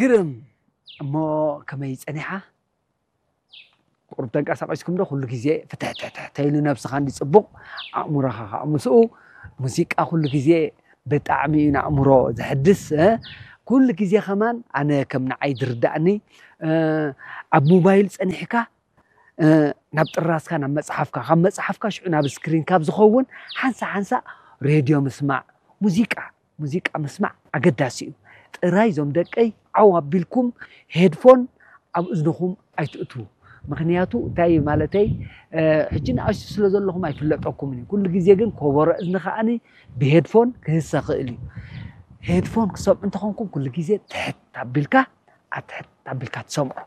ግርም። እሞ ከመይ ጸኒሓ? ቁሩብ ተንቀሳቒስኩም ዶ? ኩሉ ግዜ ፍትሕትሕትሕ ተይሉ ነብስኻ እንዲ ጽቡቕ፣ ኣእምሮኻ ከዓ ምስኡ። ሙዚቃ ኩሉ ግዜ ብጣዕሚ እዩ ንኣእምሮ ዘሕድስ። ኩሉ ግዜ ከማን ኣነ ከም ንዓይ ዝርዳእኒ ኣብ ሞባይል ጸኒሕካ ናብ ጥራስካ ናብ መጽሓፍካ ካብ መጽሓፍካ ሽዑ ናብ ስክሪን ካብ ዝኸውን ሓንሳ ሓንሳ ሬድዮ ምስማዕ፣ ሙዚቃ፣ ሙዚቃ ምስማዕ ኣገዳሲ እዩ። ጥራይ እዞም ደቀይ ዓው ኣቢልኩም ሄድፎን ኣብ እዝንኹም ኣይትእትዉ። ምክንያቱ እንታይ ማለተይ፣ ሕጂ ንኣሽቱ ስለ ዘለኹም ኣይፍለጠኩምን እዩ። ኩሉ ግዜ ግን ኮቦሮ እዝኒ ከዓኒ ብሄድፎን ክህሰ ክእል እዩ። ሄድፎን ክሰምዑ እንተኾንኩም ኩሉ ግዜ ትሕት ኣቢልካ ኣትሕት ኣቢልካ ትሰምዑ።